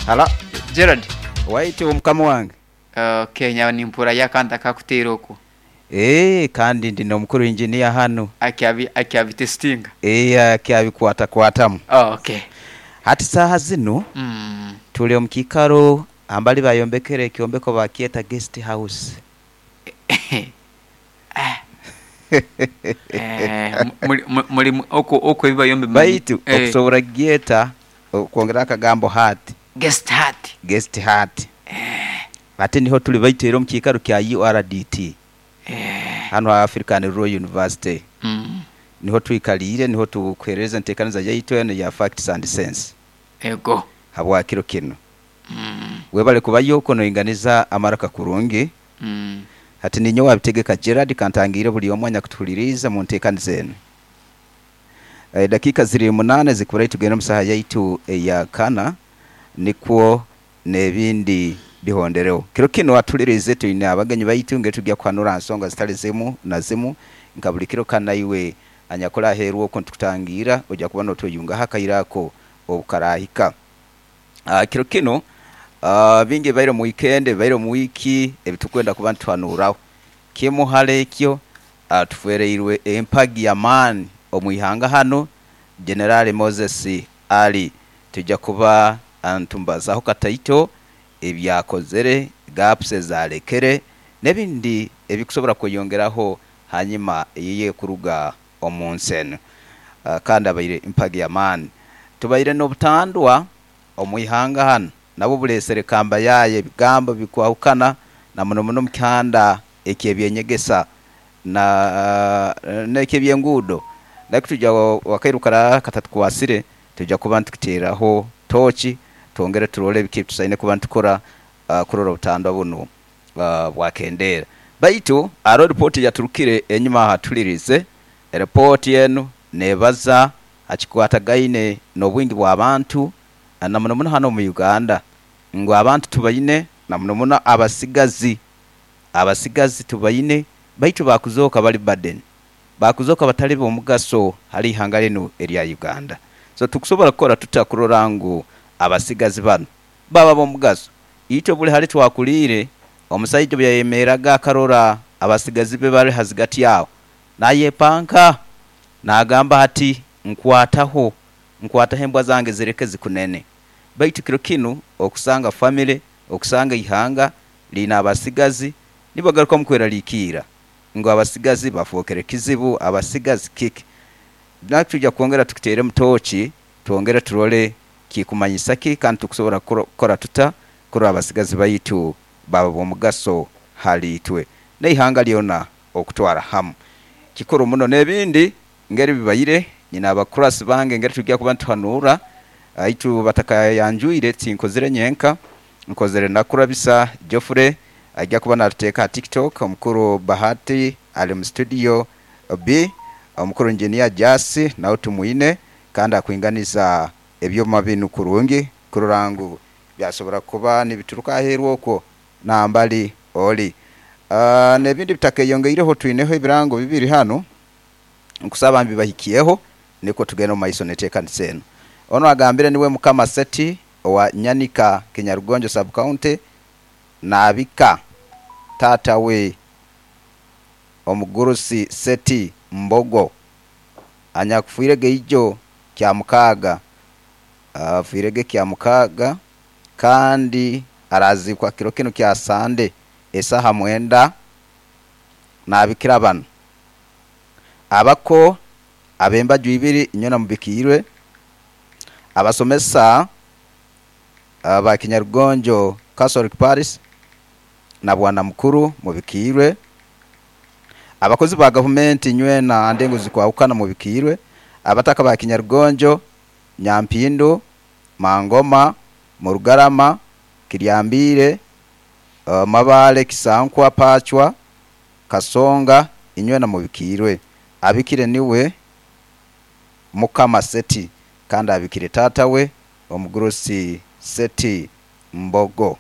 Hala. Gerald. Waitu mukama wange. Okay, nyawe nimpurrayo akantu akakuteera okwo. Eeh kandi ndi n'omukuru engineer hanu. Akyabi akyabitestinga. Eeh akyabikwatakwatamu. Okay. Hati saaha zinu tuli omu kiikaro ambali bayombekere ekyombeko bakyeta guest house. Muli okwo okwo ebibayombe Baitu okusobora kugyeta okwongeraho akagambo hut. Guest hut. Guest hut. Ate niho tuli baitu era omu kiikaro kya URDT hanu ha African Rural University. Niho twikaliire, niho tukuheereza enteekaniza yaitu enu eya Facts and Sense Ego. habwa kiro kinu. Webale kubayo okwo noinganiza amaraka kurungi. Hati ninyowe Abitegeka Gerald kantangiire buli omu anyakutuhuliriize mu nteekaniza enu. Edakiika ziri munaana ezikuburayo tugende omu saaha yaitu eya kana nikwo n'ebindi bihondereho. Kiro kinu atuhuliriize twine abagenyi baitu ngeri tugya kuhanura ha nsonga zitali zimu na zimu nka buli kiro kandi naiwe anyakuli aheeru okwo nitukutangiira oja kuba notweyungaho akaire ako obukarahika. Kiro kinu bingi ebibaire omu wiikendi, ebibaire omu wiiki ebitukwenda kuba nituhanuuraho. Kimu hali ekyo, tufwereirwe empagi y'amaani omu ihanga hanu, Jenerali Moses Ali. Twija kuba nitumubazaaho kataito ebi akozere, gaps ezi alekere n'ebindi ebikusobora kweyongeraho hanyuma ye kuruga omu nsi enu. Kandi abaire mpagi y'amaani. Tubaire n'obutandwa omu ihanga hanu nabwo buleesere kambayaaye ebigambo bikwahukana na muno muno omu kihanda eky'eby'enyegesa na n'eky'ebyenguudo. Naitwe twija akairu karaaba katatukwasire twija kuba nitukiteeraho tooki twongere turole biki ebi tusaine kuba nitukora kurora obutandwa bunu bwakendeera. Baitu haroho ripooti eyaturukire enyuma aha tuhuliriize. Ripooti enu neebaza ha kikwatagaine n'obwingi bw'abantu na muno muno hanu omu Uganda ngu abantu tubaine na muno muno abasigazi. Abasigazi tubaine baitu baakuzooka bali burden, baakuzooka batali b'omugaso hali ihanga linu erya Uganda. So tukusobora kukora tuta kurora ngu abasigazi banu baaba b'omugaso? Itwe buli hali twakuliire, omusaija obu yayemeeraga akarora abasigazi be bali hazigati aho, Nayepanka, naagamba ati, Nkwataho, nkwataho embwa zange zireke zikunene. Baitu kiro kinu okusanga famire, okusanga eihanga liine abasigazi, nibagarukamu kweraliikirra ngu abasigazi bafookere kizibu, abasigazi kiki. Naitwe twija kwongera tukiteeremu tooki, twongere turole kikumanyisa ki kandi tukusobora kukora tuta kurora abasigazi baitu baaba b'omugaso hali itwe n'eihanga lyona okutwara hamu. Kikuru muno n'ebindi ngeri bibaire, nyine abakurasi bange ngeri twija kuba nituhanuura, baitu batakayanjwire tinkozire nyenka, nkozire na Kurabisa Geoffrey aija kuba natuteeka aha TikTok, omukuru Bahati ali mu studio B, omukuru Engineer Jasi nawe tumwine kandi akwinganiza ebyoma binu kurungi kurora ngu byasobora kuba nibituruka aheeru okwo nambali oli. N'ebindi bitakeyongeireho twineho ebirango bibiri hanu, nkusaba mbibahikyeho nikwo tugende omu maiso n'enteekaniza enu. Onu agambire niwe Mukama Seti owa Nyanika Kinyarugonjo Sub County naabika taata we omugurusi Seti Mbogo anyakufiirege ijo Kyamukaaga, afiirege Kyamukaaga kandi araaziikwa kiro kinu kya Sande esaaha mwenda naabikira banu, Abako ab'embaju ibiri inywena mubikiirwe, abasomesa ba Kinyarugonjo Catholic Parish na Bwanamukuru mubikiirwe, abakozi ba gavumenti inywena ha ndengo ezikwahukana mubikiirwe, abataka ba Kinyarugonjo, Nyampindu, Mangoma, Murugarama, Kiryambiire, Mabaale, Kisankwa, Paachwa, Kasonga, inywena mubikiirwe. Abikire niwe Mukama Seti, kandi abikire taata we omugurusi Seti Mbogo,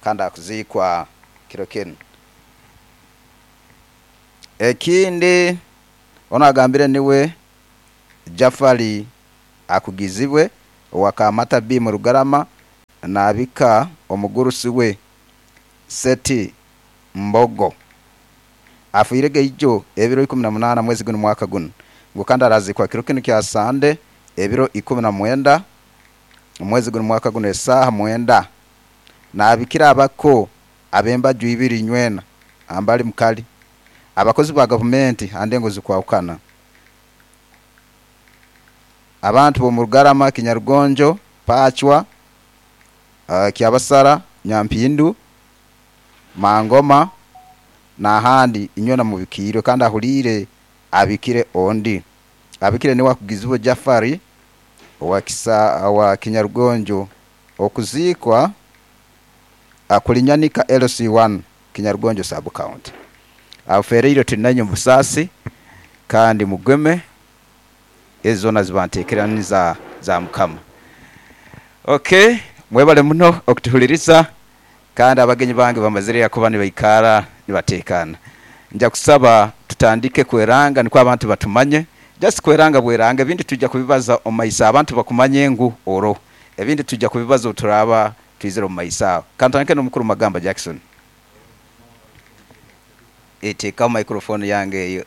kandi akuziikwa kiro kinu. Ekindi, onu agambire niwe Jafari Akugizibwe owa Kamata B Murugarama. Naabika omugurusi we Seti Mbogo afiire gaijo ebiro 18 mwezi gunu mwaka gunu ngu kandi arazikwa kiro kinu kya Sande ebiro 19 omwezi gunu mwaka gunu esaaha 9. Naabikira abako ab'embaju ibiri nywena ambali mukali abakozi ba gavumenti ha ndengo zikwahukana, abantu b'omu Rugarama, Kinyarugonjo, Pacwa, Kyabasara, Nyampindu, Mangoma n'ahandi inywena mubikiirwe kandi ahuliire abikire ondi. Abikire niwe Akugizibwe Jafari owa Kinyarugonjo. Okuziikwa kulinyanika LC1 Kinyarugonjo Sub County. Afereirwe tuli nainywe mu busaasi kandi mugeme ezo zoona ziba nteekeraniza za Mukama. Okay, mwebale muno okutuhuliriza kandi abagenyi bange bamazire kuba nibaikara nibateekaana. Nja kusaba tutandike kweranga nikwo abantu batumanye. Just kweranga bweranga ebindi twija kubibaza omu maiso abantu bakumanye ngu oroho. Ebindi twija kubibaza obu turaaba twizire omu maiso aho. Kantandike n'omukuru Magamba Jackson. Teekaho microphone yange eyo.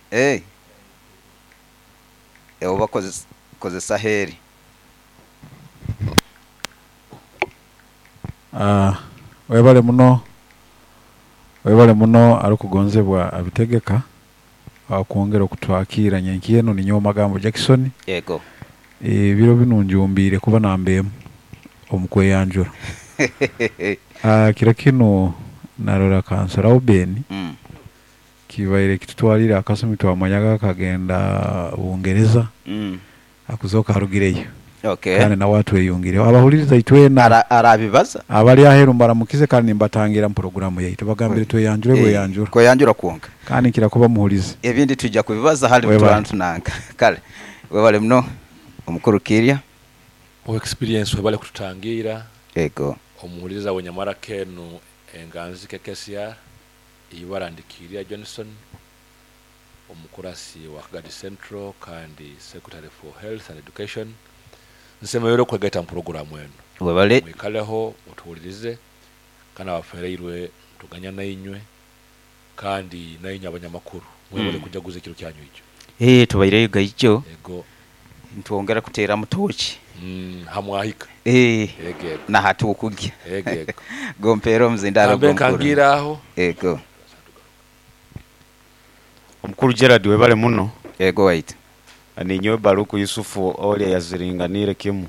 Hey. Oba kozesa heri. Webale muno, webale muno arukugonzebwa Abitegeka okwongera okutwakiira nyenkya enu. Ninyowe Magambo Jackson. Yego. Ebiro binu njumbiire kuba namba emu omu kweyanjura. Kiro kinu narora Kansara Oben kibaire kitutwaliire akasumi twamanyaga akagenda Bungereza akuzooka arugireyo kandi nawe atweyungireho. Abahuliriza itwena Arabibaza abali aheeru mbaramukize kandi nimbatangira mu puroguramu yaitu bagambire tweyanjure bweyanjura. Kweyanjura kwonka. Kandi nkira kuba muhulizi. Ebindi twija kubibaza hali Webale. Tunanka. Kale webale muno omukuru Kirya. O experience webale kututangira. Ego. Omuhuliriza wenyamara kenu enganzi KKCR ibara ndi Kirya Johnson, omukurasi wa Kagadi Central kandi Secretary for Health and Education. Nsemereire okwegaita mu programu eno. Webale. Mwikaleho otuhulirize kandi abafereirwe tuganya nainywe kandi nainywe abanyamakuru mwebale kujaguza ekiro kyanyu ekyo. Tubaireyo gaijo. Ego. Ntwongera kuteera mutoki. Hamwahika. Ego, ego. Na hatu okugya. Ego, ego. Gompera omuzindaro Kambe gomukuru. nkangira aho. Ego. Omukuru Gerard webale muno. Ego wait. Ninyowe Baruku Yusufu Olya yaziringanire kimu.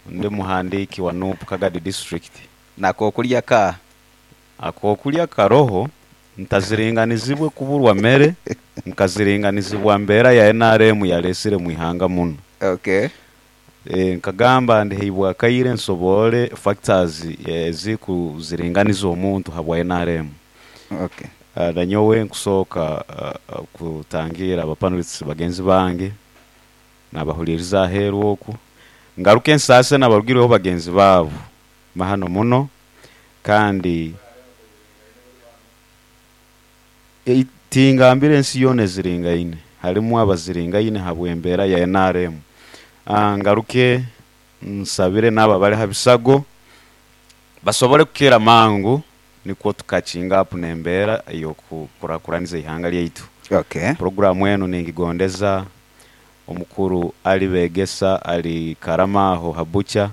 Ndi muhandiki wa NUP Kagadi District. Nakokulya ka? Akokulya karoho ntaziringanizibwe kuburwa mere nkaziringanizibwa mbera ya NRM yalesire mwihanga muno. Nkagamba ndiheibwa kaire nsobole factors ezikuziringaniza omuntu habwa NRM. Nanyowe nkusooka kutangira abapanelists bagenzi bange nabahuliriza aheeru oku ngaruke ensase nabarugireho bagenzi baabo mahano muno kandi tingambire ensi yoona eziringaine harimu abaziringaine habw'embeera ya NRM. Ngaruke nsabire n'abo abari ha bisago basobole kukira mangu nikwo tukakinga apu n'embeera ey'okukurakuraniza ihanga lyaitu. Programu enu ningigondeza omukuru Ali Begesa ali Karamaho Habucha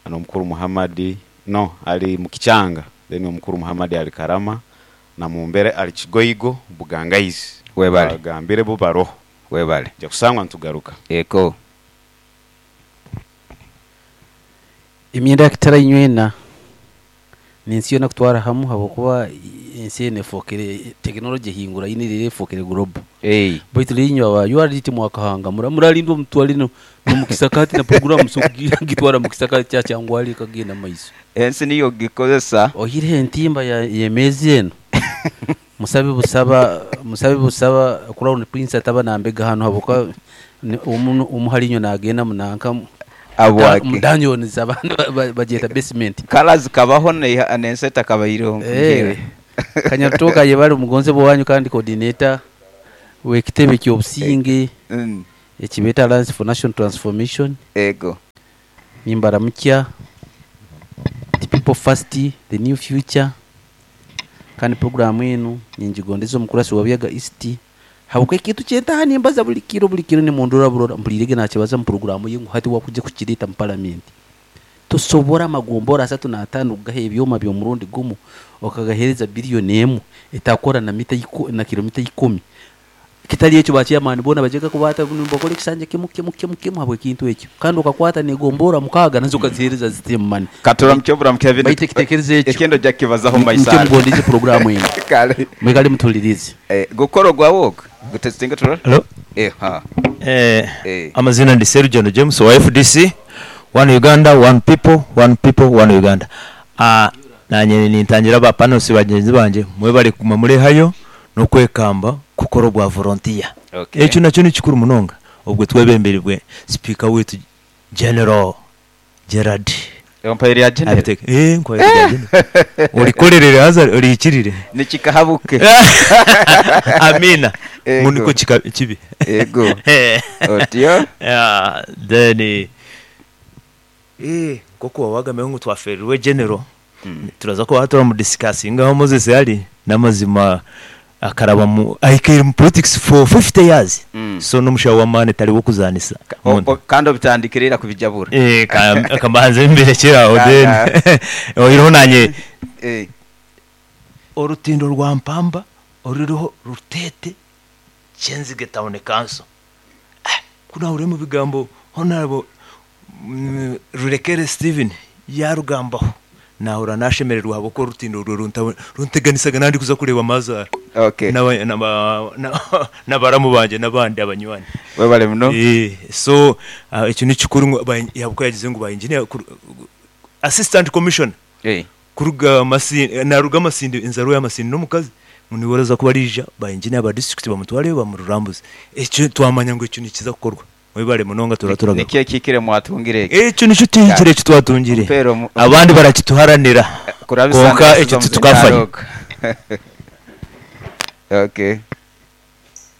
n'omukuru Muhammadi no ali Mukichanga then omukuru Muhammadi ali Karama na mumbere ali Kigoigo Bugangaizi. Webale. Bagambire bo baroho. Webale. Ja kusangwa ntugaruka. Eko. Emyenda yakitara inywena nensi yona kutwara hamu habwokuba ensi eno efokere tekinology ehingura ine rero efokere global. Baitu linywa aba URDT mwakahanga muralindwa mutwale no mukisakati na program so gitwara mukisakati kya kyangwali kagenda maiso. Ensi niyo gikozesa. Ohire entimba ya yemezi eno. Musabe busaba, musabe busaba Crown Prince ataba nambega hano habwokuba umuhalinyo nagenda munanka Abwake. Mudanyoni abantu bagyeta basement. Kalazi kabaho nenseta kabairo. Kanyatoka yebali omugonze bwanyu kandi coordinator w'ekitebe ky'obusinge. Ekibeta Alliance for National Transformation. Ego. Nimbaramukya the people first, the new future. Kandi programu enu ningigondeza omukurasi wa Byaga East. Habwokuba ekintu kyentaha nimbaza buli kiro buli kiro nimundora burora mpulirege nakibaza mu programu ye ngu hati wakujya kukireta mu parliament. Tosobora amagombora 35 kugaha ebyoma by'omurundi gumu okagahereza biliyoni emu etakora na mita na kilomita 10. Kitali ekyo ba chairman bona bajega kubata nibakora ekisanja kimu kimu kimu kimu habwe kintu ekyo. Kandi okakwata negombora mukaga nazo kazihereza zitemu money. Katura mchobura mkevin. Baite kitekerezo ekyo. Ekendo jakibazaho maisara. Mchobura ndize programu eno. Kale. Mwikale mutulirize. Gukoro gwa wok. Gutestinga turora? Hello. Ha. Amazina ndi Sergio James wa FDC. One Uganda, one people, one people, one Uganda. Nanye nintangira ba panels bagenzi banje mwebale kuma muri hayo no kwekamba kukora bwa volunteer. Okay. Ekyo nakyo ni kikuru munonga obwe twebemberebwe speaker wetu General Gerard. Empire ya General. Nkwa ya General. Olikorerere haza olikirire. Nikikahabuke. Amina. Muniko kibi. Ego. Otyo. Yeah, then koko wagambe ngo twaferwe General. Turaza ko hatora mu discussing aho Moses yari namazima akaraba mu ayikiri mu politics for 50 years. So n'umushawo wa mane tari wo kuzanisa. Kandi bitandikirira kubijabura. Akambanze imbere kiraho then. Oyiho nanye. Orutindo rwa Mpamba oruriho Rutete Kyenzige Town Council. Kuna uri mu bigambo honorable Rurekere Steven yarugambaho. Nahura nashemererwa habo ko rutindo runteganisaga nandi kuza kureba mazara. Okay. Nabaramu banje nabandi abanywani. Webale muno. So ekyo ni kikuru yabuko yagize ngo ba engineer assistant commissioner. Kuruga masindi naruga masindi inzaro ya masindi nomukazi muniweraza kuba rija ba engineer ba district bamutware bamururambuze. Ekyo twamanya ngo ekyo nikiza kukorwa. Webale munonga turaturaga. Nikiye kikire mwatungire. Ekyo nico tuhikire ekyo twatungire. Abandi barakituharanira. Konka ekyo tutukafanya. Okay.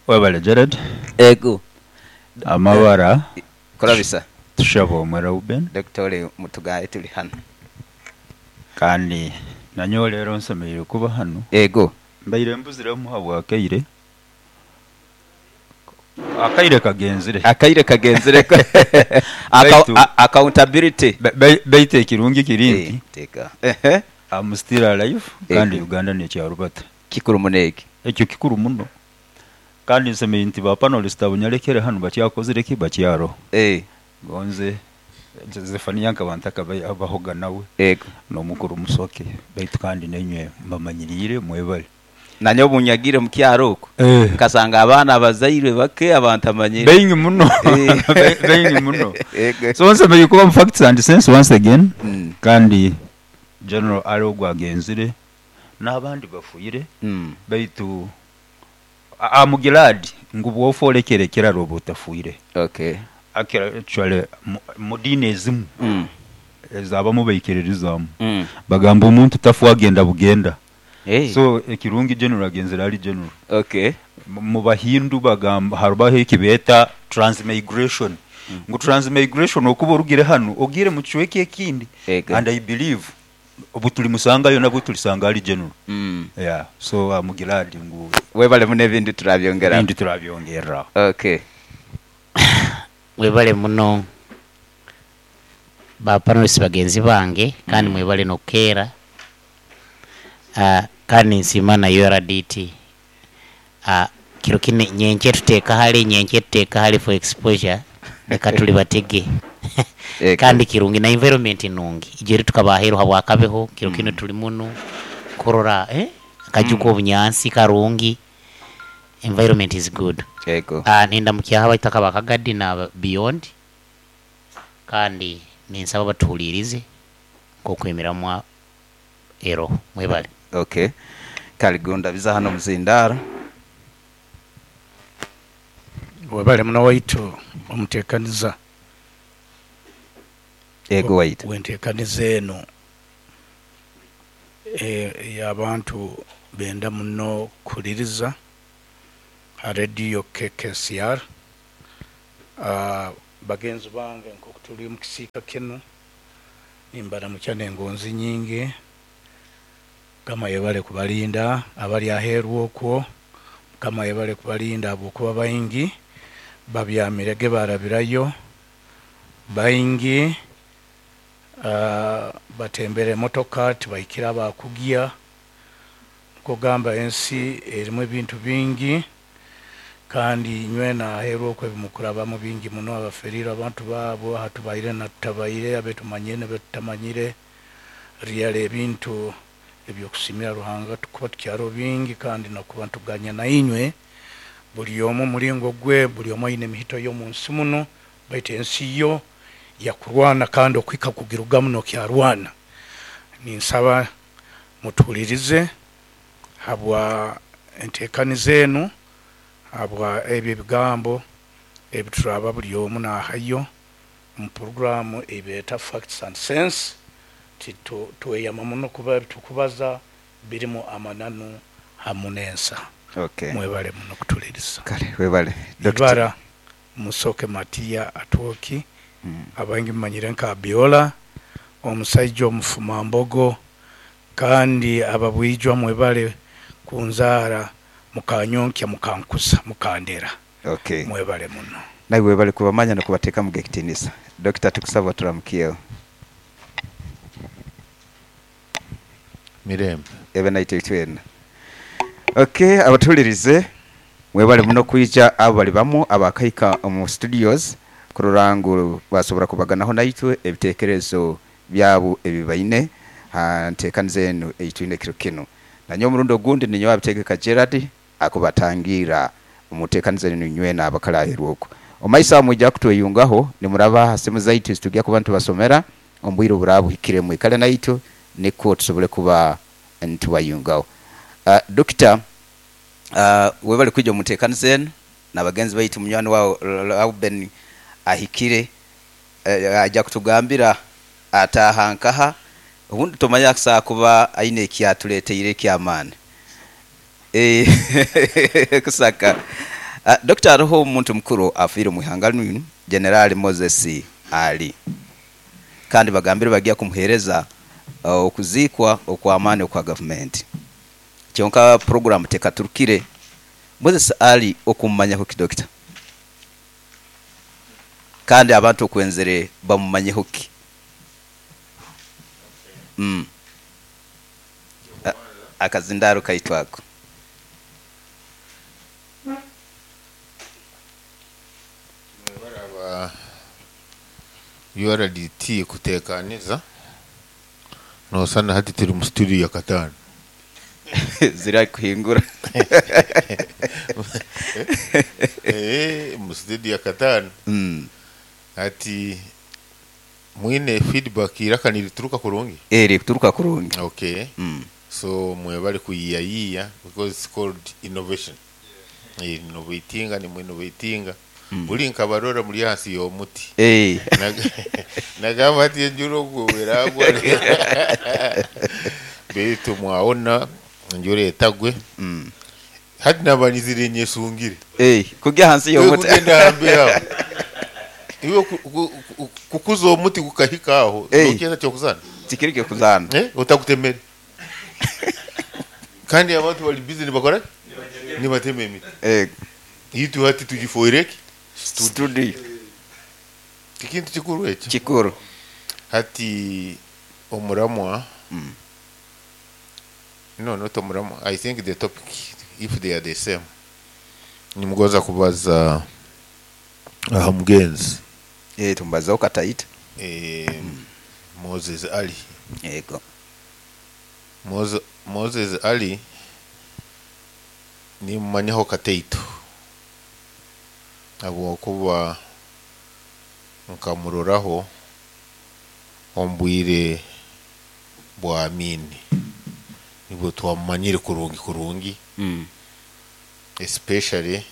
Webale Gerard. Ego. Amabara. Kurabisa. Tushabo Reuben. Dr. Mutugaye tuli hano. Kandi nanyo rero nsemereire kuba hano. Ego. Mbaire mbuzire muhabwa akaire. Akaire kagenzire. Akaire kagenzire. Accountability. Baite ekirungi kirinti. Teka. I'm still alive. Kandi Uganda ni kyarubata. Kikuru munegi. Ekyo kikuru muno. Kandi nsemeye nti ba panelist abunyarekere hano bakyakozire ki bakyaro. Gonze Zefania nkabantaka abahoga nawe. Ego. No mukuru musoke baitu kandi nenywe mbamanyirire mwebale. Nanyo bunyagire mu kyaro uko. Kasanga abana abazairwe bake abantu amanyire. Bengi muno. Bengi muno. So nsemeye kuba facts and sense once again. Kandi General Arogwa genzire n'abandi bafuyire. Baitu amugilad ngubu ofolekerekera robota fuire. Okay. Actually mudine ezimu ezabamu baikiririzamu. Bagamba omuntu tafu agenda bugenda. So ekirungi general agenzera ali general. Okay. Mu bahindu bagamba harubaho ekibeta transmigration. Ngu transmigration okuba orugire hano ogire mu kichweke ekindi. And I believe obutuli musangayo nabwo tulisanga ali general. Yeah, so amugilad ngu webale mune bindu turabyongera. Bindu turabyongera. Okay. Webale muno ba panelists bagenzi bange kandi mwebale nokera kandi nsima na URDT kiro kine nyenche tuteka hali for exposure leka tuli batege kandi kirungi na environment nungi ijeri tukabahero habwakabeho kiro kino tuli muno kurora akajuko obunyansi karungi environment is good. Ego. Ninda mukyaha baitaka bakagadi na beyond kandi ninsaba batuhulirize kokwemera ero mwebale. Okay. Kaligunda biza hano muzindara. Webale muno waitu omutekaniza. Ego waitu. Wentekaniza eno y'abantu benda muno kuliriza radio KKCR. Bagenzi bange, nk'oku tuli mu kisiika kinu, nimbaramukya n'engonzi nyingi. Mukama yebale kubalinda abali aheeru okwo. Mukama yebale kubalinda habwokuba baingi babyamirege barabirayo, baingi batembere emotoka tibahikire abakugya. Kugamba ensi erimu ebintu bingi, kandi nywena aheeru okwo ebimukurabamu bingi muno, abaferire abantu baabo hatubaire na tutabaire, abetumanyire nebetutamanyire. Really ebintu ebyokusimira Ruhanga tukuba tukyaro bingi, kandi nokuba ntuganya na inywe buli omu mulingo gwe, buli omu aine emihito y'omunsi muno, baitu ensi yo yakurwana kandi okuhika kugirugamu nokyarwana. Ninsaba mutuhulirize habwa entekaniza enu, habwa ebyo ebigambo ebituraba buli omu nahayo omu programu eibeeta Facts and Sense. Tweyama muno kuba ebitukubaza birimu amananu hamu n'ensa. Okay. Mwebale muno kutuliriza. Kale webale. Ibara Musoke Matiya Atwoki, abaingi mumanyire nka Abiola, omusaija omufumambogo, kandi ababwijwa mwebale kunzaara mukanyonkya mukankuza mukandera. Okay. Mwebale muno. Naiwe webale kubamanya n'okubateekamu ekitiinisa. Dokita, tukusaba oturamukiegho. Mirembe. Ebe naitwe itwena. Ok, abatuhulirize mwebale muno kwija. Abo bali bamu abakahika omu studios kurora ngu basobora kubaganaho naitwe ebitekerezo byabo ebibaine ha ntekaniza enu eitwine ekiro kinu. Nanyowe omurundi ogundi ninyowe Abitegeka Gerald akubatangiira omu ntekaniza enu nywena abakali aheeru okwo. Omumaiso aho mwija kutweyungaho nimuraba ha simu zaitu ezitugya kuba nitubasomera omu bwire oburaba buhikire. Mwikale naitwe nikwo tusobole kuba nitubayungaho. Dokita, webale kwija omu ntekaniza enu n'abagenzi baitu. Munywani wawe Rauben ahikire, aija kutugambira ataaha nkaha, obundi tomanya akusobola kuba aine ekyatuleteire eky'amaani. Kusaka. Dokita, haroho omuntu mukuru afiire omu ihanga linu, Generali Moses Ali, kandi bagambire bagya kumuheereza okuziikwa okw'amaani okwa gavumenti. Kyonka puroguramu tekaturukire. Moses Ali okumumanyaho ki Dokita? Kandi abantu okwenzere bamumanyeho ki? Akazindaaro kaitu ako. Mwebale aba URDT kutekaniza, nosana hati turi mu studio ya kataano. Ziri kuhingura. Mu studio ya kataano. Hati mwine feedback iraka nirituruka kurungi? Erikuturuka kurungi. Okay. So mwebale kuyiyayiya because it's called innovation. Innovatinga nimu innovatinga. Buri nkabarora muri ahansi y'omuti. Nagamba ati enjura ogwo eragwa beitu mwawona enjura etagwe. Hati naba nyizire nyesungire. Kugya ahansi y'omuti. Kugenda aha mbeho aho. Iwe kukuza omuti gukahika aho, nokyeta ky'okuzaana? Tikiri ky'okuzaana. Otagutemere. Kandi abantu bari busy nibakora ki? Nibatema emiti. Itwe hati tugifoire ki? Studio. Tikintu kikuru ekyo? Kikuru. Hati omuramwa, no not omuramwa, I think the topic if they are the same. Nimugonza kubaza aha mugenzi. Tumubazeho kataito. Moses Ali. Yego. Moses Ali nimumanyaho kataito habwokuba nkamuroraho omu bwire bwa Amin, nibwo twamumanyire kurungi kurungi, especially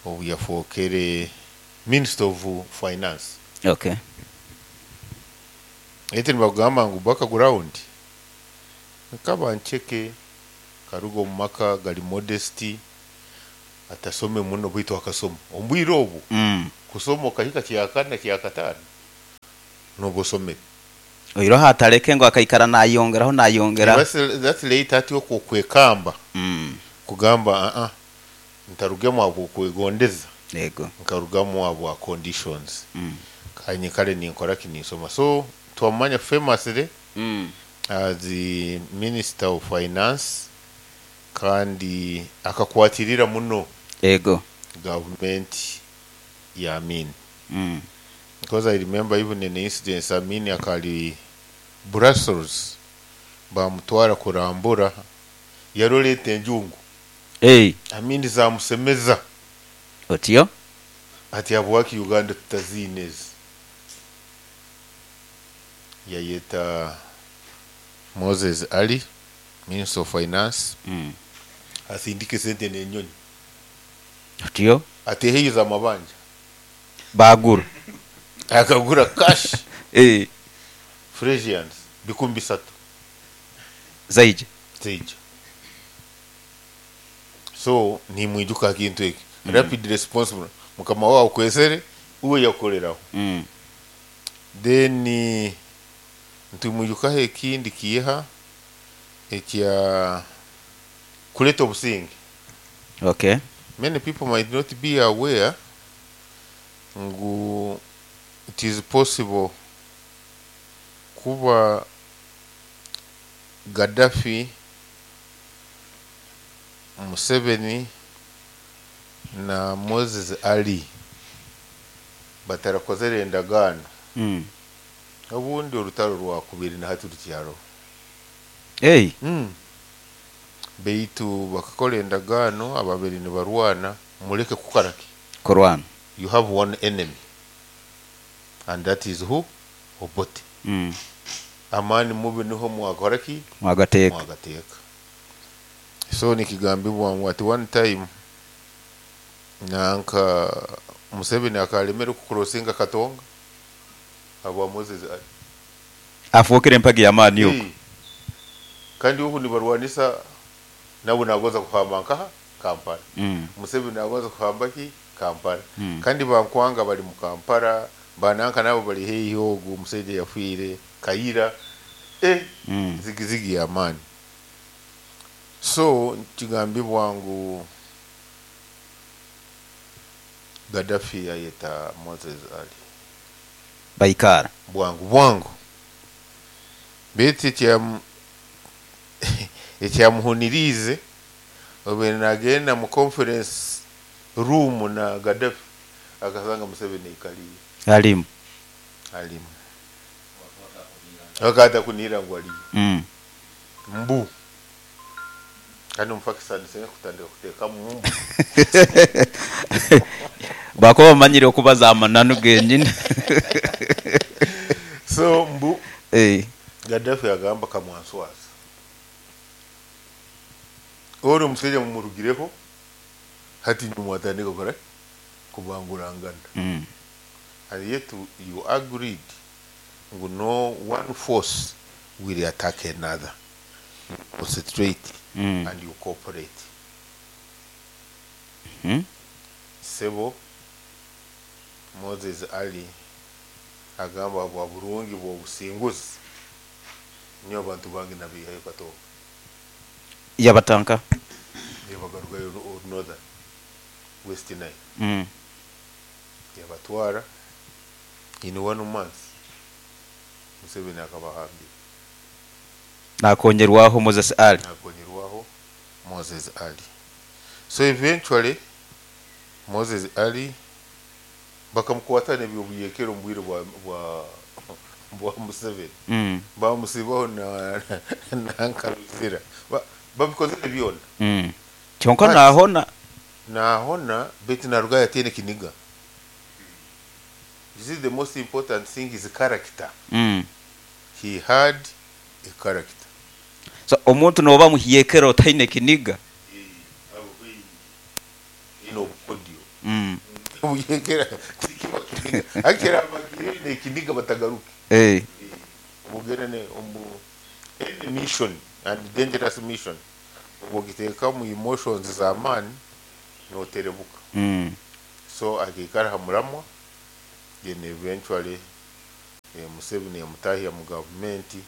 obu yafookere Minister of Finance. Eti nibakugamba ngu background nkaba ncheke, karuga omu maka gari modest, atasome muno baitu akasoma omu bwire obu. Kusoma okahika kyakana kyakataano noba osomere. Oiroho ataleke ngu akaikara nayongeraho nayongera. That's late hati okwo okwekamba kugamba ntarugemu habwokwegondeza. Yego. Nkarugamu habwa conditions. Kanye kale ninkora ki, ninsoma. So twamanya famously as the minister of finance, kandi akakwatirira muno gavumenti ya Amin. Because I remember even in incidents, Amin akali Brussels, bamutwara kurambura, yaroleta enjungu. Hey. Amin zamusemeza. Otyo? Ati habwaki Uganda tutaziine ezi? Yayeta Moses Ali, Minister of Finance, asindike sente n'enyonyi. Otyo? Ateheyo amabanja. Bagura. Akagura cash. Eh. Fresians 3,000. Zaija. Zaija. So nimwijuka kintu eki. Rapid response mukama wawe kwesere uwe yakoleraho. Then ntumwijukaho ekindi kiha ekya kuleta obusinge. Many people might not be aware ngu it is possible kuba Gaddafi, Museveni na Moses Ali batarakozere endagaano. Obundi orutaro rwakubiri na hati rukyaro. Hey. Beitu bakakora endagaano, ababiri nibarwana, muleke kukaraki. Kurwana. You have one enemy, and that is who? Obote. Amani mubi niho mwakoraki? Mwagateeka. Mwagateeka. So nikigambibwa ngu at one time nanka Museveni akalemera kukurosinga Katonga abwa Moses Ali. Afuukire empagi y'amaani okwo. Hey. Kandi obu nibarwanisa nabo nagonza kuhamba nkaha Kampala. Museveni nagonza kuhamba ki Kampala. Kandi bankwanga bali mu Kampala, bananka nabo bali heihi ogu omusajja yafiire Kaira. Zigizigi y'amaani. So kigambibwa ngu Gaddafi yayeta Moses Ali. Baikara. Bwangu bwangu. Beitu ekyamuhuniriize obe nagenda mu conference room na Gaddafi akasanga Museveni aikaliire. Alimu. Alimu. Akata kunira ngu aliyo. Mbu. Kandi omupakistani singa kutandika kuteekamu mbu. Bakuba bamanyire okubaza amananu genyini. So mbu. Gaddafi agamba kamwanswaza. Ori omusajja mumurugireho hati nimwatandika kukora kubangurangana. And yet you agreed ngu no one force will attack another. Concentrate and you cooperate. Sebo Moses Ali agamba bwa burungi bwa businguzi niyo abantu bangi nabihayo Katonga. Yabatanka. Yabagarukayo northern West Nile. Yabatwara in 1 month. Museveni akabahambira. Nakonyerwaho Moses Ali. Nakonyerwaho Moses Ali. So eventually Moses Ali bakamukwata n'ebyobuyekero mu bwire bwa Museveni. Bamusibaho na Nkanusira. Babikozere byona. Kyonka nahona. Nahona beti naruga yatene kiniga. This is the most important thing is character. He had a character. So omuntu noba muhiyekero otaine kiniga. Ino audio. Muyekera tikiba kiniga. Akira abagire ne kiniga batagaruke. Mugere ne omu any mission and dangerous mission. Ubugiteka mu emotions za man noterebuka. So akikara hamuramwa Then eventually Museveni yamutahya mu gavumenti,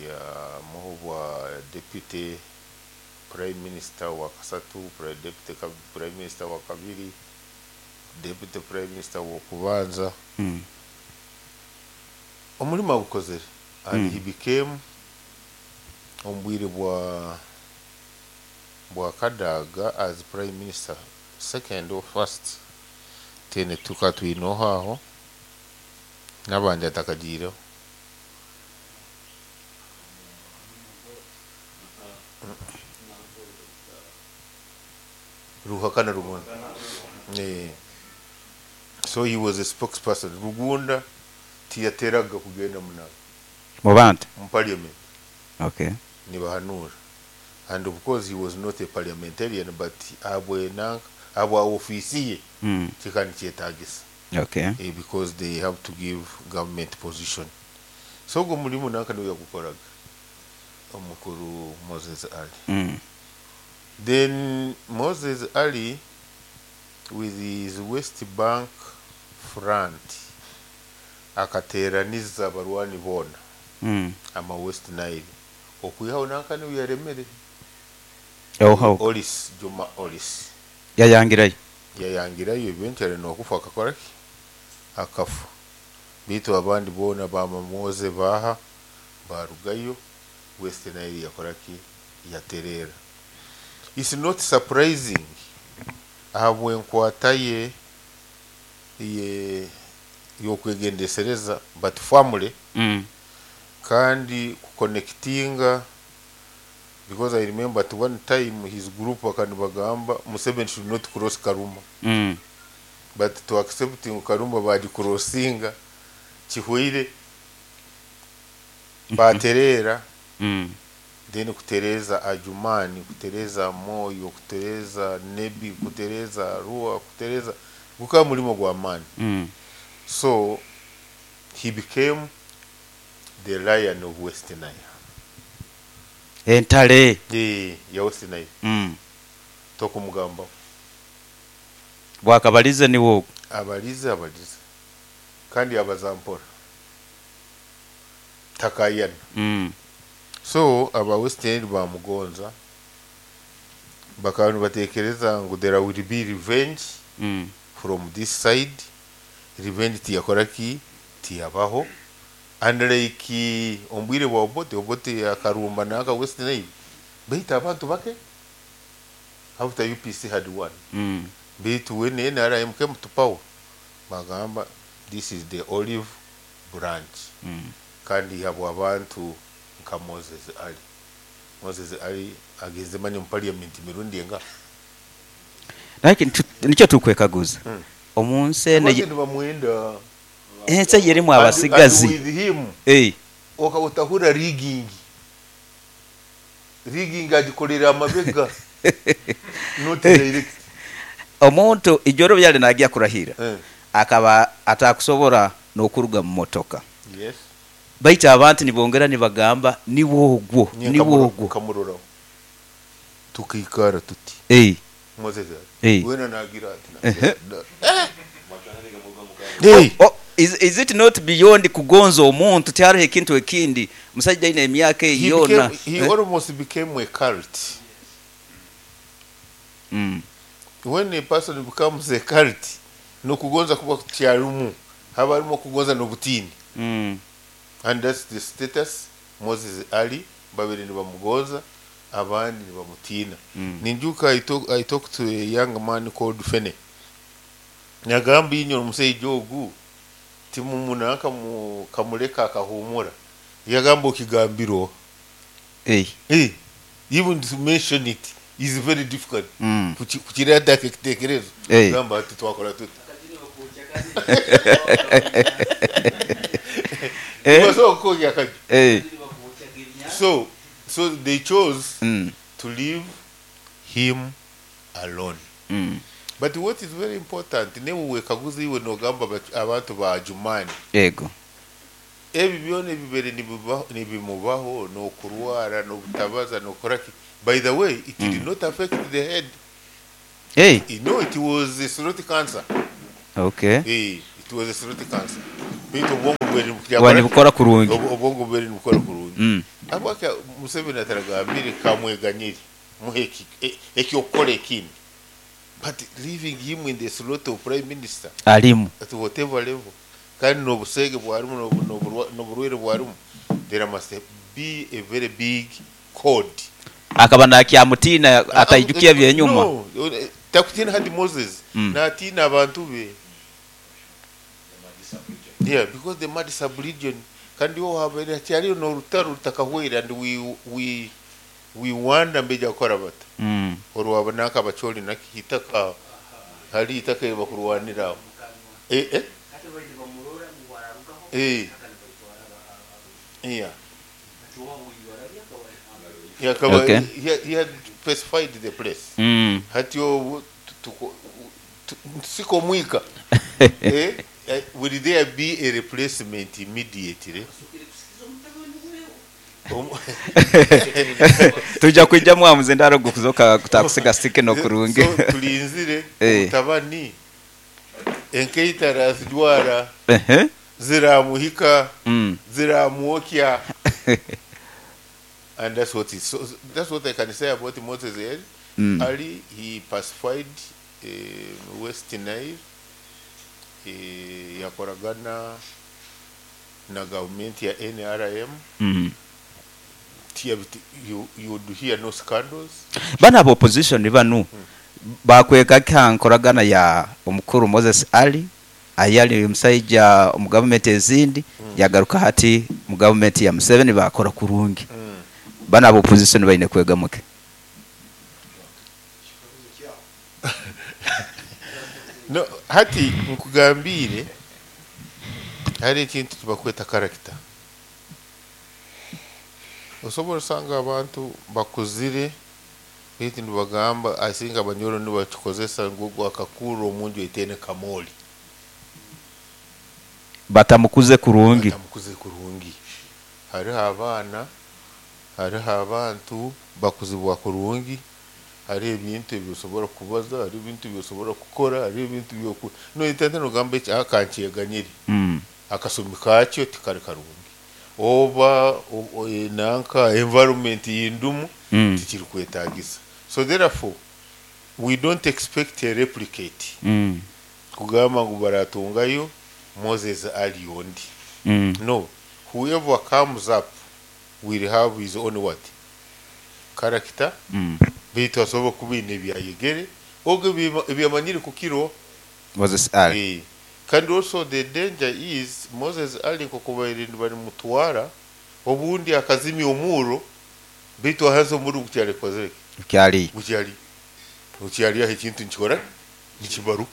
yamuha obwa deputy prime minister wa kasatu, deputy prime minister wa kabiri, deputy prime minister w'okubanza. Omurimo agukozere and he became omu bwire bwa Kadaga as prime minister second or first, tene tuka twinoho aho n'abandi atakagiireho. Ruhakana Rugunda. So he was a spokesperson. Rugunda tiyateraga kugenda munabo Mu bantu mu parliament. Nibahanura, and of course he was not a parliamentarian, but abwe nanka abwa ofisi ye kika nikyetagisa. Because they have to give government position. So ogwo mulimu nanka niwe yagukoraga omukuru Moses Ali. Then Moses Ali with his West Bank front akateraniza abarwani boona ama West Nile okwihaho nanka niwe yaremere. Oho. Olis Juma Olis yayangirayo. Yayangirayo eventually nokufa akakora ki, akafa, bitu abandi boona bamamoze baha barugayo, West Nile yakora ki, yaterera. It's not surprising ahabw'enkwata ye y'okwegendesereza, but family kandi kuconnectinga, because I remember at one time his group akanibagamba Museveni should not cross Karuma. But to accept Karuma bagicrossinga kihweire baterera. Then kutereza Adjumani, kutereza Moyo, kutereza Nebi, kutereza Arua, kutereza gukaba mulimo gwa maani. So he became the lion of West Nile. Entale. Ya West Nile. Tokumugamba bwakabalize niwo. Abalize kandi abazampora takayana. So aba West Nile bamugonza bakaba nibatekereza ngu there will be revenge from this side. Revenge tiyakora ki, tiyabaho, and like ombwire bwa Obote, Obote akarumba naka West Nile baita abantu bake after UPC had won. Baitu when NRM came to power bagamba this is the olive branch. Kandi habo abantu nka Moses Ali. Moses Ali ageze manye mu parliament mirundi enga. Naye nicyo tukwekaguza. Omunsi ene Abantu bamwenda ensi yerimu abasigazi. And with him okawutahura rigging. Rigging agikolera amabega. Not direct. Omuntu ijoro byali nagiya kurahira. Akaba atakusobora n'okuruga mu motoka. Yes. Baita abantu nibongera nibagamba niwogwo, niwogwo. Kamurora. Tukikara tuti. Moses. Wena nagira ati. Oh, is it not beyond kugonza omuntu tyariho ekintu ekindi musajja ine emyaka yona. He almost became a cult. When a person becomes a cult, no kugonza kuba kyarumu haba harimo kugonza n'obutini. And that's the status Moses Ali babiri nibamugonza abandi nibamutina. Ninjuka I talked to a young man called Fene. Nyagamba inyo omusajja ogu timumunaka kamuleka akahumura. Yagamba okigambiro. Even to mention it is very difficult. Kukireta kitekerezo. Gamba ati twakora tuti. So they chose to leave him alone. But what is very important, newe wekaguzi iwe nogamba abantu ba Adjumani. Ego. Ebi byone bibere nibimubaho no kurwara no butabaza no koraki. By the way, it did not affect the head. Hey. You know, it was a throat cancer. Okay. It It was a throat cancer. Baitu obwongo bweri Bwa nibukora kurungi. Obwongo bweri nibukora kurungi. Habwaki Museveni ataragambire kamweganyire muhe ekyokukora ekindi, but leaving him in the slot of prime minister alimu at whatever level, kandi n'obusege bwarimu n'oburwaire bwarimu, there must be a very big code. Akaba nakyamutina ataijukia byenyuma. No, takutina hadi Moses natina abantu be. Yeah, because the Madi sub-region kandi wo habaire hakyariyo n'orutaro rutakahwera, and we wonder mbeja kukora bata. Orwaba nanka abacholi nakitaka hali itaka bakurwanira aho. Yeah. Okay. He had specified the place. Hati siko mwika. Will there be a replacement immediately? Tuja kuija mwamuze ndaro gukuzoka kutakusiga sike no kurungi. So tulinzire mutabani enkeita razidwara ziramuhika ziramuokya. And that's what it, so that's what I can say about Moses Ali. Ali, he pacified West Nile, yakoragana na government ya NRM. You would hear no scandals. Bana abo opposition banu bakweka kankoragana ya omukuru Moses Ali ayali omusaija omu government ezindi yagaruka hati mu government ya Museveni bakora kurungi. Bana abo opposition baine kwegamuke. No, hati nkugambire hari ekintu tubakweta character. Osobola osanga abantu bakuzire baitu nibagamba asinga abanyoro nibakikozesa ngu gwakakura omunju etene kamoli. Batamukuze kurungi. Batamukuze kurungi. Hariho abaana, hariho abantu bakuzibwa kurungi, hariho ebintu ebyosobora kubaza, hariho ebintu ebyosobora kukora, hariho ebintu byoku. No itente nogamba eki akankyeganyire. Akasumi kakyo tikari karungi. Oba nanka environment yindumu tikiri kwetagisa. So therefore we don't expect a replicate. Kugamba ngu baratungayo Moses Ali ondi. No, whoever comes up will have his own what? Character. Baitu asobola kuba ebyayegere ogo ebyamanyire kukiro Moses Ali. Kandi also the danger is Moses Ali nkokubaire bari mutwara obundi akazimya omuro baitu ahaza omuro gukyali kozere kyali gukyali aho ekintu nkikora nikibaruka.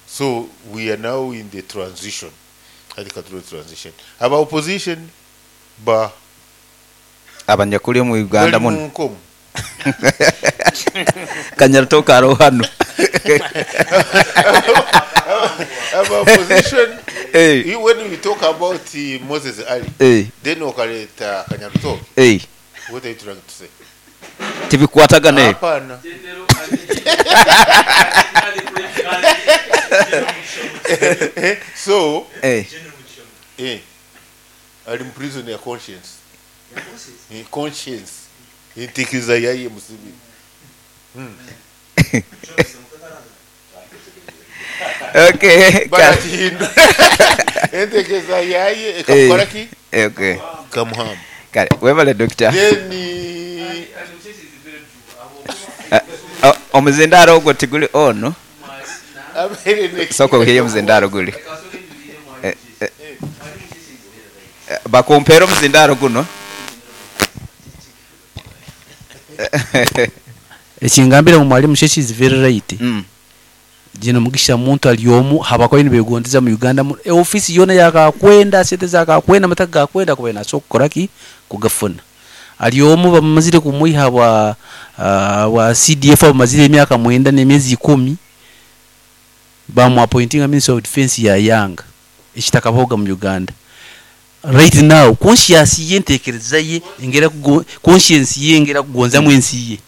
So we are now in the transition. Adika transition. Aba opposition ba abanyakuri mu Uganda muno Kanyarutoke aro hano. Aba opposition when we talk about Moses Ali, then okaleta Kanyarutoke. What are you trying to say? Tibikwatagane. Hapana. So ali in prison ya conscience. Conscience. Intikiza yaye Museveni. Okay. Baratinda. Entekeza yaye ekakora ki? Okay. Kamuhamba. Kale, webale doctor. Then omuzindaro ogwo tiguli ono. Soko hiyo muzindaro guli. Bakumpera omuzindaro guno. Ekingambira mu mwalimu Sheshi is very right. Jino mugisha muntu aliomu habakoyi nibegondeza mu Uganda mu office yona yakakwenda sente zakakwenda mataka gakwenda kubena so kukoraki kugafuna. Aliomu bamazire kumuiha wa CDF bamazire emyaka 9 n'emyezi 10 bamu appointing a Minister of Defense ya Yanga ekitakaboga mu Uganda. Right now conscience ye ntekereza ye ingera conscience ye ingera kugonza mu ensi ye.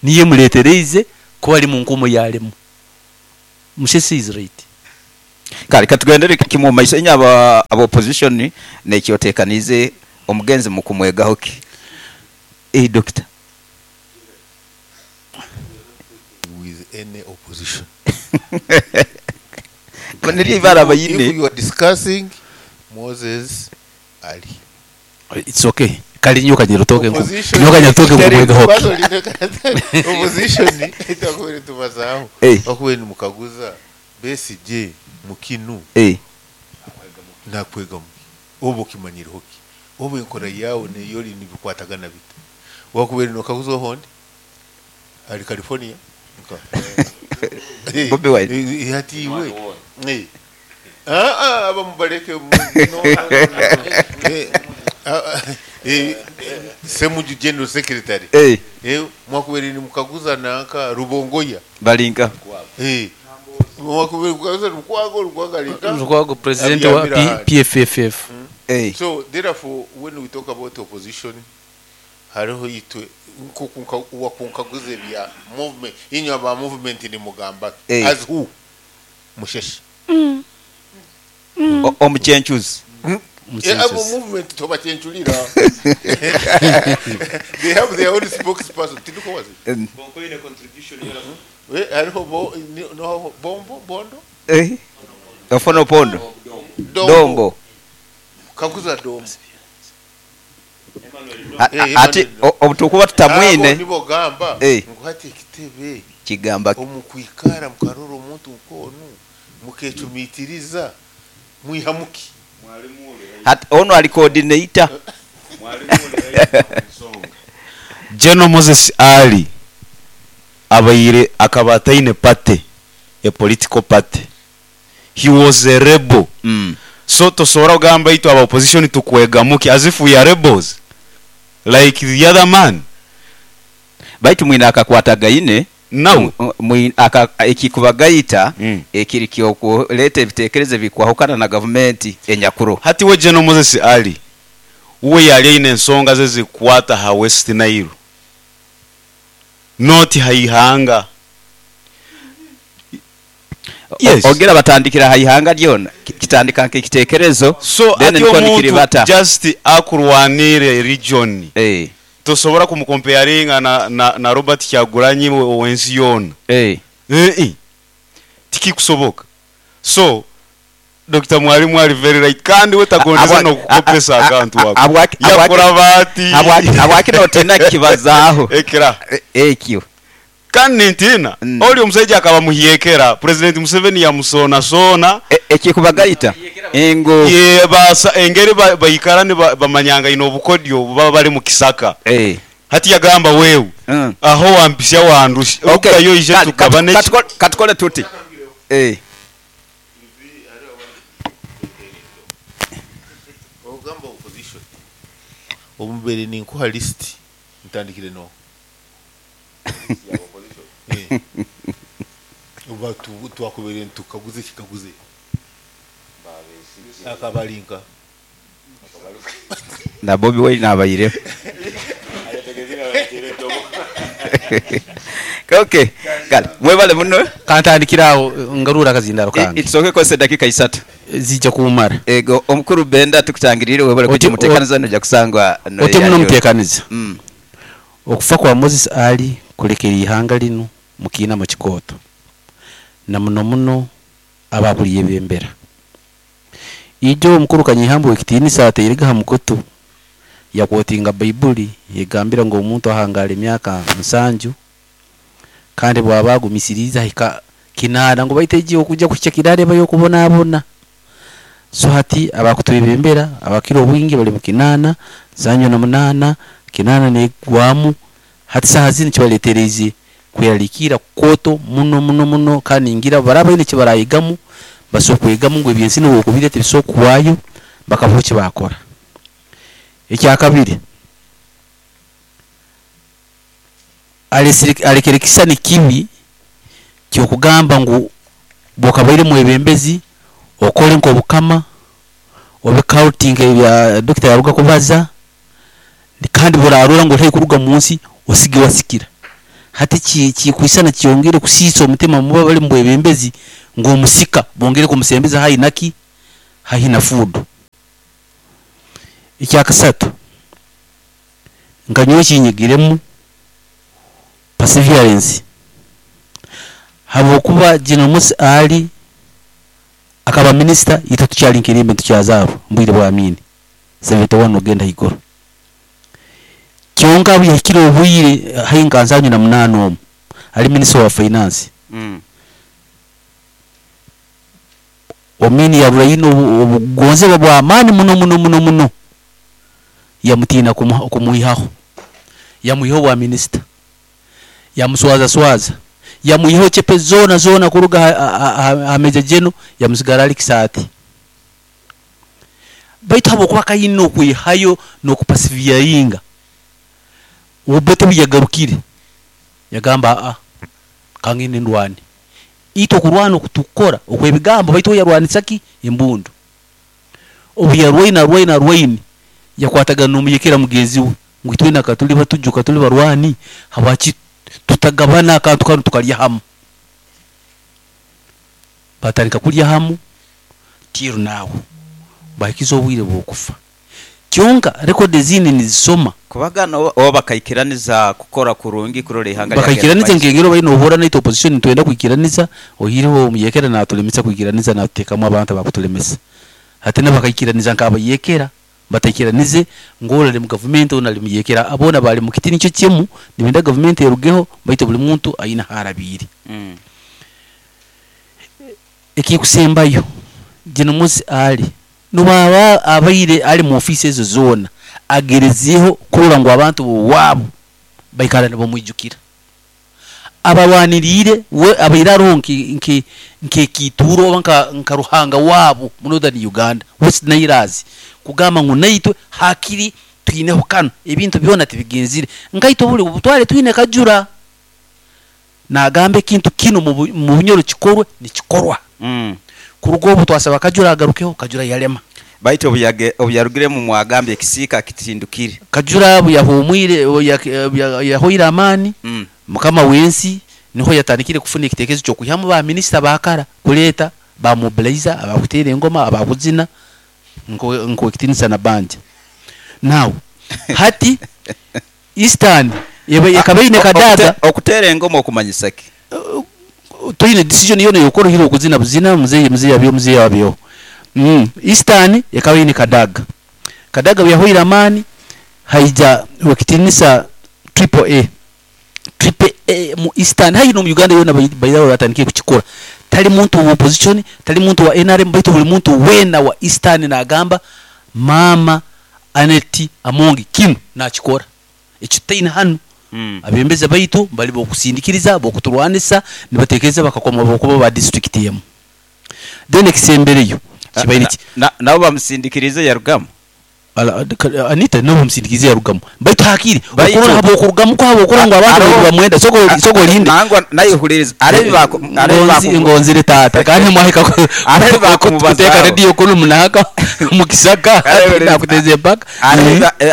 Niye muletereize ko ari mu nkomo yalemu. Mushesi is right. Kale katugendere kimu omu maiso. Inywe aba aba opposition nekyotekaniize omugenzi mukumwegaho ki? Eh, Dokita. With any opposition. Niryo ibara If bayine. you are discussing Moses Ali. It's okay. Kali nyoka nyirutoke nku. Opposition- Nyoka nyirutoke nkumwega hoki. Kwanza opposition itakuwa tubazaho. Eh. Bakuwe ni mukaguza Besigye mukinu. Nakwega muki. Obo kimanyire hoki. Obo enkora yawe neyori nibikwatagana bita. Wakubere nokaguza hondi. Ali California. Nka. Bobi Wine. Hati iwe. Ah ah aba mubaleke no, no, no, no. Semuju General Secretary. Mwakubere ni mukaguza nanka Rubongoya. Balinka. Mwakubere mukaguza Lukwago, Lukwago alinka. Lukwago president wa Abyamira PFFF. So therefore when we talk about opposition hariho itwe wakunkaguze bya movement inyo aba movement ni mugamba as who musheshe Omuchenchuzi. Abo movement tobachenchulira. They have their own spokesperson. Tinuko wazi. Bonko ine contribution yera. Hariho bo no bombo bondo. Ofono pondo. Dombo. Dombo. Kaguza dombo. Ati obutukuba tutamwine. Abo nibo gamba ngo hati ekitebe kigamba omukwikara mukarora omuntu nkonu mukecumitiriza mwihamuki. Hati ono ali coordinator. General Moses Ali abaire akaba ataine party, a political party. He was a rebel. So tosobora kugamba itwe aba opposition tukwegamuki as if we are rebels like the other man. Baitu mwine akakwatagaine nawe ekikubagayita ekiri kyokuleta ebitekerezo bikwahukana na gavumenti enyakuru. Hati we General Moses Ali uwe yali aine ensonga ze zikwata ha West Nile, not haihanga. Yes. Ogera batandikira haihanga lyona kitandika nk'ekitekerezo. So then ati niko omuntu nikiribata. just akurwanire region. Tosobora kumukomparinga na Robert Kyagulanyi wensi yona. Tikikusoboka. So Dr. Mwalimu ali very right kandi we tagondeza no kukopesa akantu wako. Yakora bati. Abwaki no tena kibazaho. Ekera. Ekyo. Kandi ntina oli omusajja akaba muhyekera President Museveni yamusona sona ekikubagayita engo ye basa engeri baikara ne bamanyanga ino obukodyo baba bali mu kisaka. Hati yagamba wewe aho wampisya wandusha ukayo ije tukabane katukole tuti. Ogamba opposition omumbere ni nkuha list ntandikire no oba twakubere ntukaguze kikaguze akabalinka na Bobi Wine nabayire. Okay, kale mwebale muno kantandikira awo ngarura akazindaro kange. Itsoke kose dakika 3 zijja kumara. Ego omukuru Benda tukutangirire webale kuti mutekaniza noja kusangwa no. Ote muno mutekaniza. Okufa kwa Moses Ali kulekera ihanga lino mukina mu kikoto na muno muno ababuliye bembera. Ijo omukuru Kanyihambo ekitiinisa ateirega ha mukutu yakwotinga Baibuli yegambira ngo omuntu ahangala emyaka 7 kandi bwaba agumisiriza hika 8 ngo baiteje okujja kuhikya kirare bayo kubonabona. So hati abakutwebembera abakiro obwingi bali mu 8 78 8 negwamu hati saha zini kibaletereze kuyarikira koto muno muno muno kandi ngira baraba ine kibarayigamu basokwegamu ngo ebyensi no okubirete bisokuwayo bakavuki bakora. Ekyakabiri alekerekisa ni kibi kyokugamba ngu bwokabaire mwebembezi okole nk'obukama obe counting ebya Dr. Yaruga kubaza kandi burarura ngo ntari kuruga munsi osige wasikira. Hati kikwisana kyongere kusiisa omutima muba bali mu bwebembezi ng'omusika bongere kumusembeza haihi naki haihi na fuudu. Ekyakasatu, nka nyowe kinyigiremu perseverance, habwokuba General Musa Ali akaba minisita, itwe tukyali nkirimbe ntukyazaarwa mu bwire bwa Amini 71 ogenda haiguru. Kyonka obu yahikire obwire haihi nka 78 omu ali minisita wa finance. Omini yarura ino obugonzebwa bw'amaani muno muno muno muno, yamutiina kumwihaho, yamwihaho bwa minisita, yamuswaza swaza, yamwihaho chepe zona zona kuruga ha Major General, yamusigara ali Kisaati. Baitu habwokuba kayina okwihayo n'okupasiviyaringa, Obote bwe yagarukire yagamba, a kangende ndwane. Itwe okurwana okutukora okwebigambo, baitu we yarwanisa ki embundu. Obu yarwaine arwaine arwaine, yakwatagana n'omuyekera mugenzi we ngu itwena katuli batuju, katuli barwani, habwaki tutagabana akantu kanu tukalya hamu? Batandika kulya hamu till now, bahikiza obwire bw'okufa. Kyonka rekodi ezindi nizisoma kubagana oba bakaikiraniza kukora kurungi kurora ihanga. Bakaikiraniza nkengero baine obuhura naitwe opposition nitwenda kwikiraniza, ohireho omuyekera natulemesa kwikiraniza, natutekamu abantu abakutulemesa. Hati nabo bakaikiraniza nk'abayekera, bataikiranize ng'oli ali mu gavumenti onu ali muyekera, aboona bali mu kiti nikyo kimu, nibenda gavumenti erugeho, baitu buli muntu aine haarabiire. Ekikusembayo, General Musa Ali nobwaba abaire ali mu ofiisi ezo zoona, agerezeeho kurora ngu abantu b'owaabo baikara nibamwijukira, abarwaniriire. We abaire aroho nk'ekiituuro oba nka ruhanga waabo mu Northern Uganda, West Nile, kugamba ngu naitwe hakiri twineho kanu ebintu byona tibigenzire nkaitwe buli butware twine Kajura nagamba ekintu kinu mu Bunyoro kikorwe, nikikorwa. Kuruga obu twasaba Kajura agarukeho, Kajura yalema. Baitu obu yarugiremu mwagambye ekisiika kitindukire. Kajura obu yahumwire, obu yahoire amaani, mukama w'ensi niho yatandikire kufuna ekitekerezo ky'okwihamu ba minisita bakara, kuleeta ba mobilizer, abakuteera engoma, abakuzina nkowekitinisa na banja. Now hati Eastern ekaba ine Kadaga. Okuteera engoma okumanyisa ki? Toine decision yona yokora hiro okuzina buzina. Muzeyi, muzeyi abyo, muzeyi abyo. Eastern ekaba ine Kadaga. Kadaga bwe yahoire amaani, haija wekitinisa Triple A. Triple A mu Eastern hayi no mu Uganda yona bairaho batandikire kukikora. Tali muntu wa opposition, tali muntu wa NRM, baitu buli muntu wena wa Eastern nagamba mama Annet Amongi kinu nakikora ekyo tutaine hanu. Abembezi baitu bali bokusindikiriza, bokuturwanisa, nibatekereza bakakoma bokuba ba district emu. Then ekisembereyo kibaire Nabo bamusindikirize yarugamu. Anita nabo bamusindikirize yarugamu, baitu hakiri okurora habwokurugamu ko, habwokurora ngu abantu bamwenda. Soko soko olinde. Nangwa nayehuliriza arebi bako arebi bako. Ngonzire tata kandi mwahika Arebi bakumubazaho. kuteka rediyo kunu munaka mukisaka nakuteza empaka.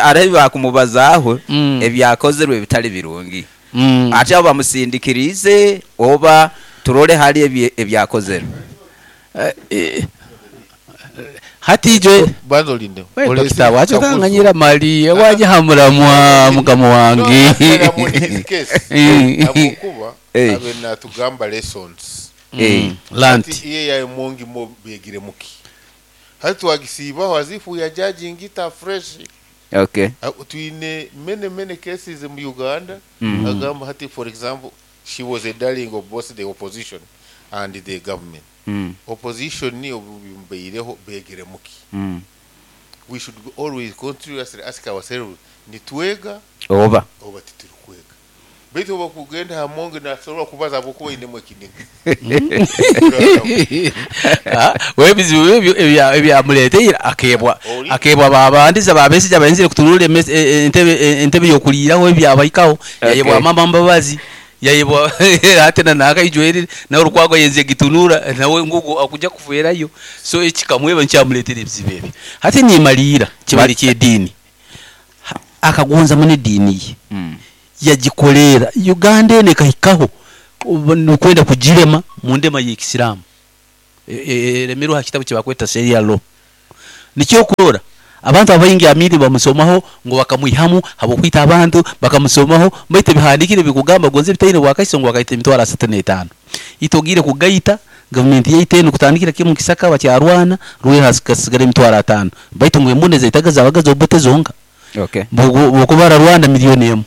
Arebi bakumubazaaho ebyakozerwe ebitali birungi. Ate abo bamusindikirize oba turole hali ebyakozerwe. Hati ijwe Banza olinde. We, Olese dokita wacho Kakuzu. kanganyira mali waje hamuramwa mukama wange. No, in his case, habwokuba abe natugamba lessons. Lanti. Hati iye ya Amongi mo begire muki hati twagisiibaho as if we are judging it afresh. Twine many many cases mu Uganda. Agamba hati, for example, she was a darling of both the opposition and the government. Opposition niyo baireho begire muki. We should be always continuously ask ourselves, nitwega oba oba tituri kwega? Baitu oba kugenda Amongi nasobola kubaza habwokuba inemu ekiniga. Ah, we ebizibu ebyo ebyamuleteire akebwa akebwa babandiza babesija bayenzire kutunula entebe yokuliiraho ebyabaikaho. Yayebwa mama Mbabazi, yayebwa ate na nakaijwerire nawe Rukwago yenze gitunura nawe ngugu akuja kuferayo, so ekikamweba nkyamuleetera ebizibu ebyo. Hati nimaliira kibali ky'ediini. Akagonza muno ediini ye. Yagikolera Uganda eno ekahikaho nukwenda kugirema mu ndema y'ekisiraamu eremerwe ha kitabu kyebakweta Sharia law. Nikyo okurora abantu abaingi Amini bamusomaho ngu bakamwihamu habw'okwita abantu, bakamusomaho baitu ebihandikire bikugamba gonze bitaine bwakaiso ngu bakaita emitwaro 35. Itwe ogiire kugaita gavumenti yaitu enu kutandikira kimu Kisaka bakyarwana Rweru hasigara emitwaro 5 baitu ngu embundu ezaitaga zabaga z'Obote zonka. Bwokubara Rwanda 1,000,000,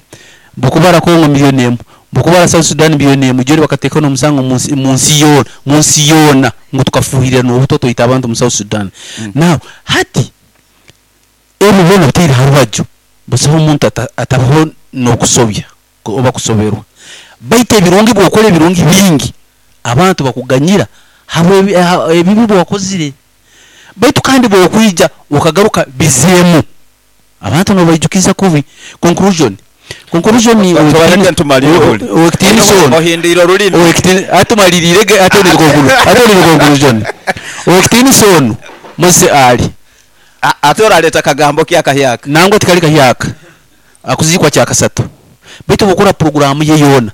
bwokubara Congo 1,000,000, bwokubara South Sudan 1,000,000, jori bakateekaho n'omusango munsi yoona, munsi yoona ngu tukafuhirira n'obutwa twaita abantu mu South Sudan. Now hati ebyo byona bitaire ha rubaju, busaho omuntu atabaho n'okusobya oba kusoberwa. Baitu ebirungi bwokora ebirungi bingi, abantu bakuganyira habw'ebibi bwakozire. Baitu kandi bwokwija okagaruka bizeemu, abantu nobaijukiza kubi. Conclusion. Conclusion owekitiinisa ono. Ohindwire orulimi. Atumaliriire ate ni conclusion. Owekitiinisa ono Mose ali. Ate oraleeta kagambo ki akahyaka? Nangwa tikali kahyaka. Akuziikwa kyakasatu. Baitu bwokora programu ye yoona,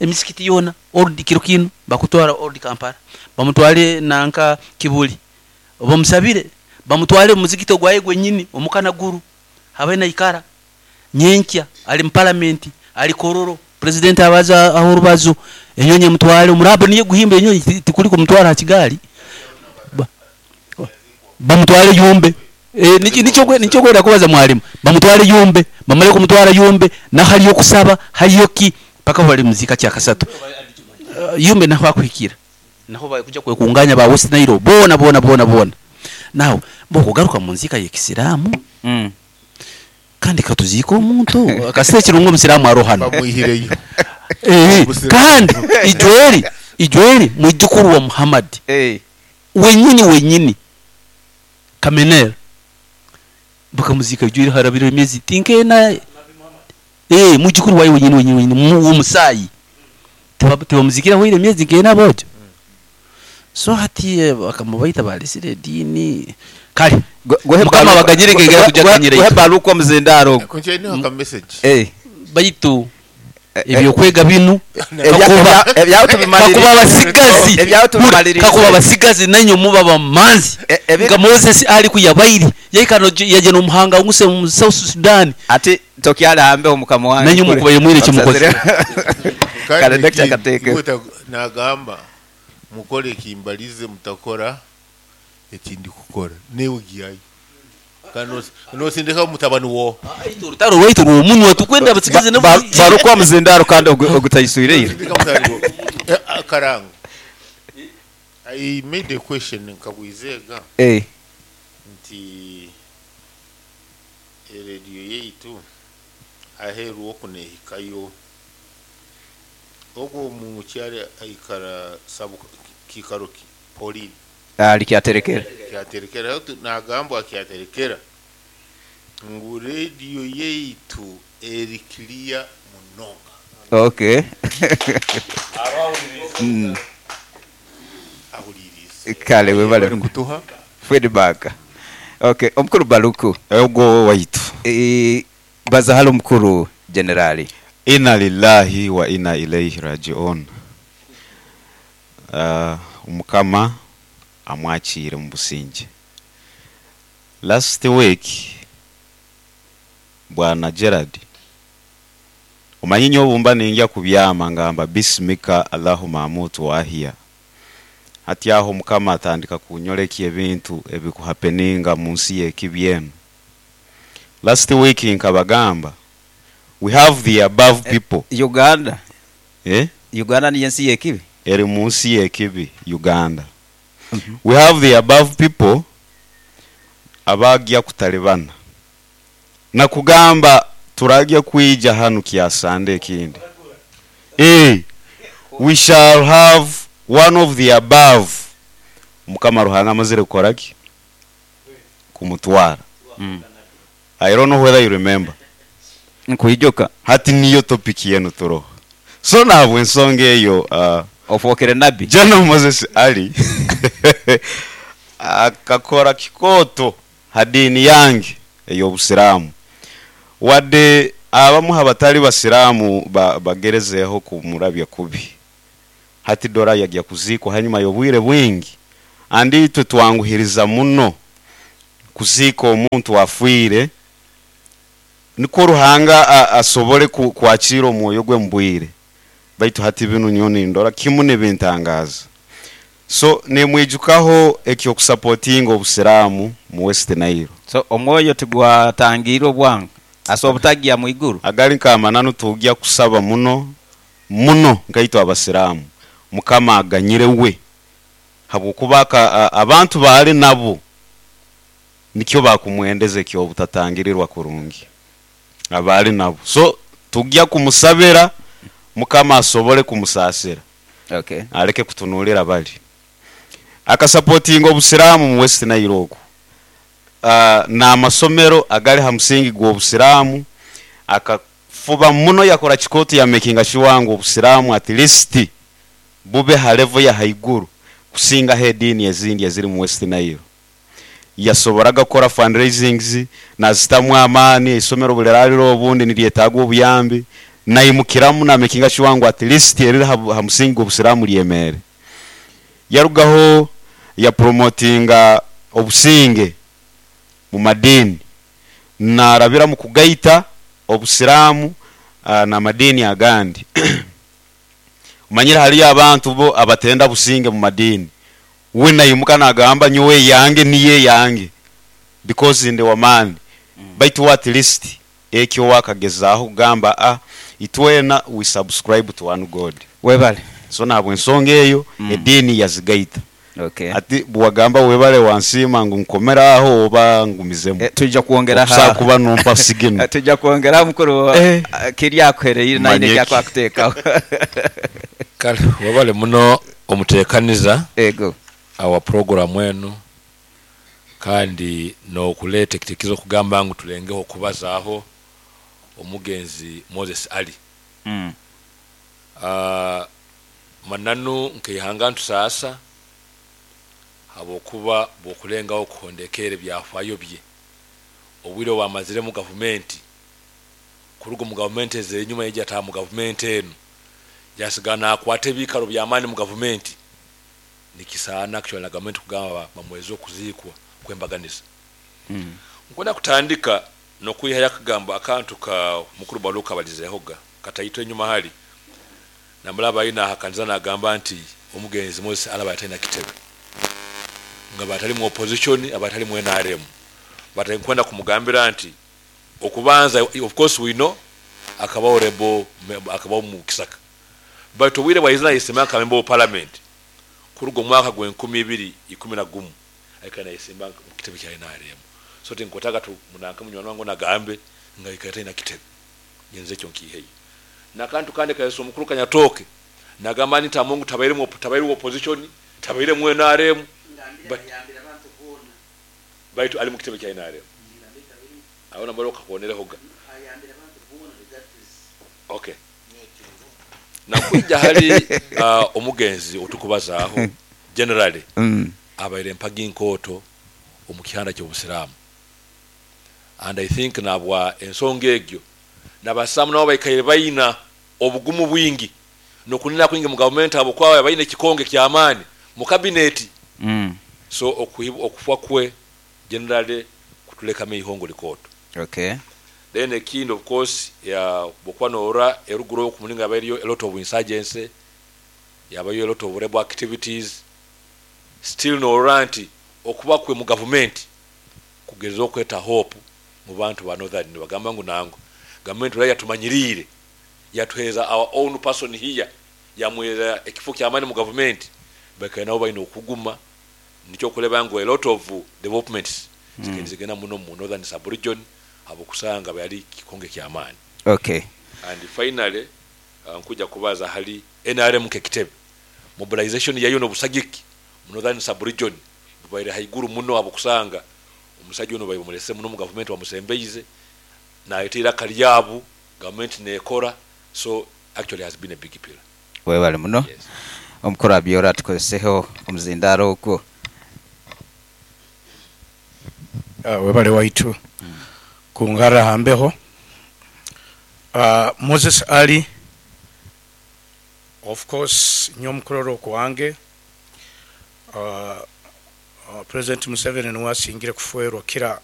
emisikiti yoona, old kiro kinu bakutwara old Kampala, bamutwale nanka Kibuli, bamusabire, bamutwale omu muzigiti ogwaye gwenyini omukanaguru, habe naikara nyenkya ali mu palamenti, ali Kororo, president abaza aho orubazo, enyonyi emutwale, omurabo niye guhimba enyonyi tikuli kumutwara ha kigaali. Bamutwale Yumbe. Nikyo kwenda kubaza mwalimu. Bamutwale Yumbe, bamale kumutwara Yumbe, na haliyo kusaba, haliyo ki paka bali muzika kyakasatu. Yumbe naho akuhikira. Naho bakuja kwekunganya ba West Nile bona bona bona bona. Naho bokugaruka mu nzika y'ekisiraamu. Kandi katuzika omuntu akasire kirungo omusiraamu arohana. Bamwihireyo. Kandi Ijweri mwijukuru wa Muhammad. Wenyini Kamener bakamuzika Ijweri harabira emyezi tinkena. Mwijukuru wawe wenyini w'omusayi. Tebamuzikira hoire emyezi nkena bojo. So hati bakamubaita balisire dini. Kale mukama baganyire kegera kujja kanyire. Gohe baluko muzindaro. Kunje ni haka message. Baitu ebyokwega binu kakuba abasigazi nanyo muba bamanzi nga Moses ali kuyabairi yaikano yaje n'omuhanga nguse mu South Sudan ati tokyala hambe omukama wange nanyo mukuba yemwire kimukozi kale Dr. Kateke nagamba mukole kimbalize mutakora ekindi kukora newe giyayo nosindika mutabani wo urutaro rwaitu rw'omunwa tukwenda abasigazi barukwa muzindaro kandi ogutayisuireire Karango. I made a question nkabwizega nti radio yaitu aheru okunehikayo ogwo mu kyali aikara sabu kikaro Pauline ali kyaterekera kyaterekera nagambwa kyaterekera ngu radio yaitu eri clear munonga. Okay. Kale webale kutuha feedback. Okay, omukuru Baluku ogwo waitu baza halo mukuru generali. Inna lillahi wa inna ilayhi rajiun. Omukama amwakire mu businge. Last week bwana Gerard omanyi obumba ninja kubyama ngamba bismika Allahumma amutu wa ahya. Hati aho mukama atandika kunyoleka ebintu ebikuhappeninga mu nsi y'ekibyenu. Last week nkabagamba we have the above people. Uganda. Uganda ni ensi y'ekibi. Eri mu nsi y'ekibi Uganda. We have the above people abagya kutalibana. Na kugamba turagya kuija hanu kyasande ekindi. We shall have one of the above. Mukama Ruhanga amazire kukoraki? Kumutwara. I don't know whether you remember. Nkuijoka. Hati niyo topic yenu turoho. So nabwe ensonga eyo ofokere nabi. General Moses Ali akakora kikoto hadini yange ey'obusiraamu. Wadde Abamu abatali basiraamu bagerezeeho kumurabya kubi. Hati dora yagya kuziikwa hanyuma y'obwire bwingi. Andi itwe twanguhiriza muno kuziika omuntu afiire, nikwo Ruhanga asobole kwakira omwoyo gwe mu bwire. Baitu hati binu nyowe nindora kimu nibintangaza. So nimwijukaho eky'okusapotinga obusiraamu mu West Nile. So omwoyo tigwatangiire obwangu, asobora obutagya mwiguru? Agali nk'amananu tugya kusaba muno muno nkaitwe abasiraamu Mukama aganyire we habwokuba abantu baali nabo nikyo bakumwendeza eky'obutatangirirwa kurungi abaali nabo. So tugya kumusabira Mukama asobole kumusaasira aleke kutunuulira bali. Akasapotinga obusiraamu mu West Nile oku n'amasomero agali ha musingi gw'obusiraamu akafuba muno yakora kikooto ya makinga sure ngu obusiraamu at least bube ha level ya haiguru kusingaho ediini ezindi eziri mu West Nile. Yasoboraga kukora fundraisings nazitamu amaani, eisomero buli raliro obundi niryetaaga obuyambi, naimukiramu na makinga sure ngu at least eriri ha musingi gw'obusiraamu lyemeere. Yarugaho ya promotinga obusinge mu madiini narabira mu kugaita obusiraamu n'amadiini agandi. Omanyire haliyo abantu bo abatenda businge mu madiini. We naimuka nagamba nyowe eyange niyo eyange because ndi w'amaani. Baitu we at least ekyo we akagezaaho kugamba a itwena we subscribe to one God. Webale. So nahabw'ensonga eyo ediini yazigaita. Hati bwewagamba webale wansiima ngu nkomere aho oba ngumizemu? Twija kwongera Okusobola kuba nompa signal. Twija kwongera mukuru kiri akuhereire naine Manyeki. ekyakuteekaho. Kale webale muno omutekaniza Ego. awa program enu kandi nokuleta ekitekerezo okugamba ngu tulengeho okubazaaho omugenzi Moses Ali. Mananu nkeihanga ntusaasa habwokuba bwokulengaho kuhondekeera ebyafaayo bye obwire obwamazire mu gavumenti kuruga omu gavumenti ezenyuma yaija yataaha mu gavumenti enu yasigara nakwata ebiikaro byamaani mu gavumenti nikisaana actually na gavumenti kugamba bamweze okuziikwa kwembaganiza. Nkwenda kutandika nokwihayo akagambo akantu ka mukuru Baluku abalizehoga kataito enyuma hali namulaba ayi nahakaniza nagamba nti omugenzi Moses alaba atalina kitebe nga batali mu opposition abatali mu NRM but nkwenda kumugambira nti okubanza of course we know akabaho rebel akabaho mu kisaka but obwire bwaize nayesimba nka member of parliament kuruga omwaka gwe nkumi ibiri ikumi na gumu aikara nayesimba mu kitebe kya NRM so tinkwetaga tu munanka munywani wange nagambe nga aikara talina kitebe nyenze ekyo nkiiheyo. Nakantu kandi kayesa omukuru Kanyatooke nagamba nti Amongu tabaire mu tabaire opposition tabaire mu NRM but baitu ali mu kitebe kya NRM aho nambara okakonerehoga. Okay. Nakwija hali omugenzi otukubazaaho generally abaire mpagi nkooto omu kihanda ky'obusiraamu and I think nabwa ensonga egyo nabasiraamu nabo baikaire baina obugumu bwingi nokunena kwingi mu gavumenti habwokuba baina ekikonge ky'amaani mu kabineti. So okufa kwe generally kutulekamu eihongo likooto. Then ekindi of course bwokuba norora eruguru oku mulingo yabaire eriyo a lot of insurgency, yabayo a lot of rebel activities, still norora nti okuba kwe mu gavumenti kugeza okweta hope mu bantu ba Northern nibagamba ngu nangwa gavumenti ora yatumanyiriire yatuheereza our own person here yamwera ekifo kyamaani mu gavumenti baikaire nabo baine okuguma nikyo okureba ngu a lot of developments zikaire nizigenda muno mu Northern sub region habwokusanga yali kikonge kyamaani. And finally nkuja kubaza hali NRM nk'ekitebe mobilization yayo n'obusagiki mu Northern sub region bubaire haiguru muno habwokusanga omusaija ono baire bamulese muno mu gavumenti bamusembeize naleta eiraka lyabu gavumenti nekora so actually has been a big pillar. Webale muno omukuru Abiora atukozeseho omuzindaaro ogwo. Webale waitu kungarra ha mbeho. Moses Ali, of course nyowe mukurora okwange, President Museveni nuwe asingire kufwerwa kira